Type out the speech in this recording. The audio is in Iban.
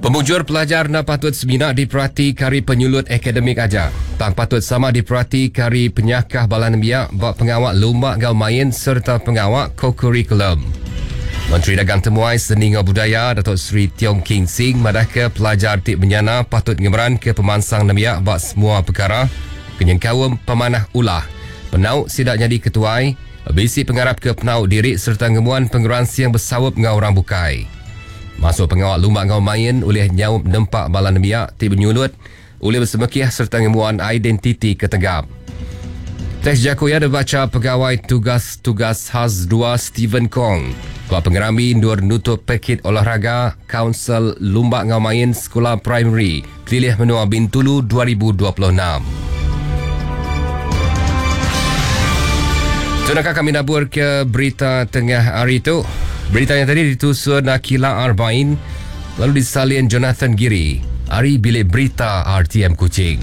Pemujur pelajar enda patut semina diperati ke ari penyulut akademik aja, tang patut sama diperati ke ari penyakah bala nembiak ba pengawa lumba enggau main sereta pengawa kokurikulum. Menteri Dagang Temuai, Seni enggau Budaya Dato Sri Tiong King Sing madahka pelajar ti menyana patut ngemeranka pemansang nembiak ba semua pekara ke nyengkaum pemanah ulah, penau sida nyadi ketuai, bisi pengarap ke penau diri sereta ngembuan pengeransing besaup enggau orang bukai. Masuk pengawa lumba enggau main ulih nyaup nempa bala nembiak ti benyulut ulih besemekih sereta ngembuan identiti ke tegap. Teks jaku iya dibacha Pegawai Tugas Tugas Khas dua Stephen Kong ba pengerami endur nutup Pekit Olahraga Kaunsil Lumba enggau Main Sekula Primari Pelilih Menua Bintulu 2026. Tu naka kami nabur ke berita tengah hari tu. Berita yang tadi ditusun Akila Arbain lalu disalin Jonathan Giri ari Bilik Berita RTM Kuching.